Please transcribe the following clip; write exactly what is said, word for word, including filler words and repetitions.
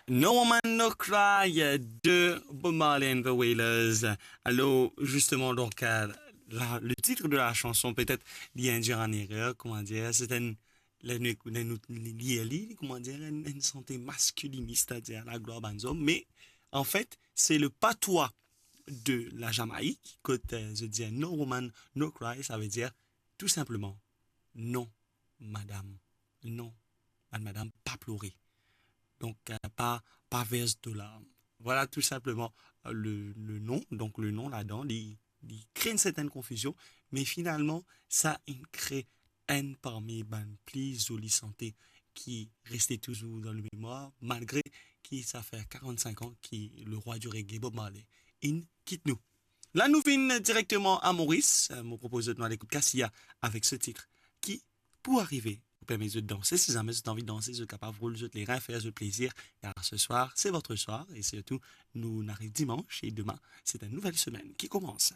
No Woman No Cry de Bob Marley and the Wailers. Alors, justement, donc, euh, la- le titre de la chanson, peut-être, li induit en erreur, comment dire, c'est un, le, le, le, li, li, comment dire, un, un santé masculiniste, c'est-à-dire la gloire bann zom, mais en fait, c'est le patois de la Jamaïque, quand euh, je dis no woman, no cry, ça veut dire tout simplement non, madame, non, bann madam, pa plore. Donc, euh, pas, pas verse de larmes. Voilà tout simplement euh, le, le nom. Donc, le nom là-dedans, il, il crée une certaine confusion, mais finalement, ça, il crée un parmi bann pli zoli santé ki reste toujours dans le mémoire, malgré ki sa fait quarante-cinq ans que le roi du reggae, Bob Marley, il quitte nous. Là, nous venons directement à Maurice. Euh, mo propoz zot nou al ekout Cassia avec ce titre qui, pour arriver, vous permet de danser. Si jamais vous avez envie de danser, vous êtes capable de rouler zot les reins, faire zot plaisir. Car ce soir, c'est votre soir. Et surtout, nous, on arrive dimanche et demain, c'est une nouvelle semaine qui commence.